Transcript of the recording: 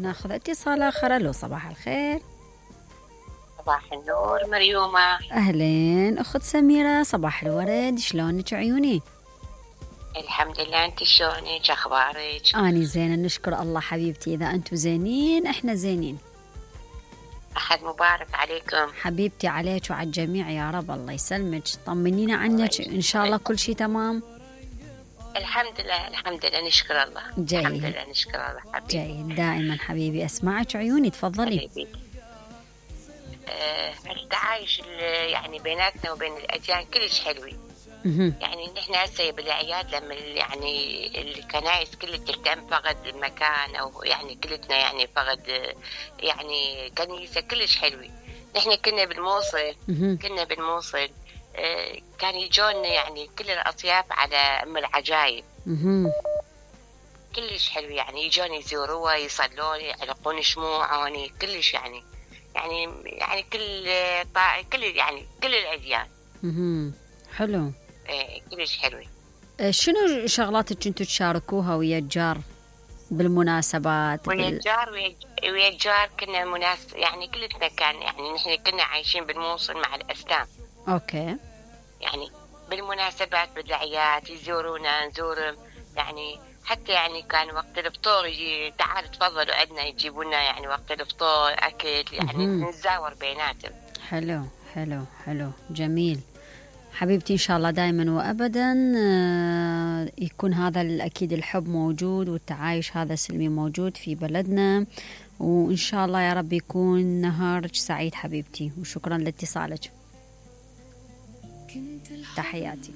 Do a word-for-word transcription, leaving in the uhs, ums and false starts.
ناخذ اتصال آخر. ألو صباح الخير. صباح النور مريومة. أهلين أخت سميرة، صباح الورد، شلونك عيوني؟ الحمد لله، أنت شلونك؟ أخبارك؟ أني زينة نشكر الله حبيبتي، إذا أنتوا زينين إحنا زينين. أحد مبارك عليكم حبيبتي عليك وعلى الجميع يا رب. الله يسلمك، طمنينا عنك، إن شاء الله كل شيء تمام. الحمد لله الحمد لله نشكر الله. جيد. الحمد لله نشكر الله حبيبي. جيد دائما حبيبي، أسمعك عيوني، تفضلي. حبيبي. آه التعايش يعني بيناتنا وبين الأديان كلش حلوي. يعني نحن هسه بالاعياد لما يعني الكنائس كلها تهتم فقد المكان او يعني كلتنا يعني فقد يعني كنيسه كلش حلوه. نحن كنا بالموصل كنا بالموصل كان يجون يعني كل الاطياف على ام العجايب كلش حلو، يعني يجون يزوروها يصلون يعلقون شموع يعني كلش يعني يعني يعني كل طا... كل يعني كل الاديان. اها حلو. ايه كلش حلوة. شنو شغلاتك كنتوا تشاركوها ويا الجار بالمناسبات؟ ويا الجار ويا الجار كنا مناسب يعني كلتنا كان يعني نحن كنا عايشين بالموصل مع الأسلام. اوكي. يعني بالمناسبات بالأعياد يزورونا نزورهم، يعني حتى يعني كان وقت الفطور يجي تعال تفضلوا عندنا يجيبوا لنا يعني وقت الفطور أكل يعني نتزاور بيناتهم. حلو حلو حلو جميل حبيبتي. إن شاء الله دائما وأبدا يكون هذا الأكيد الحب موجود والتعايش هذا سلمي موجود في بلدنا، وإن شاء الله يا رب يكون نهارك سعيد حبيبتي، وشكرا لاتصالك. تحياتي.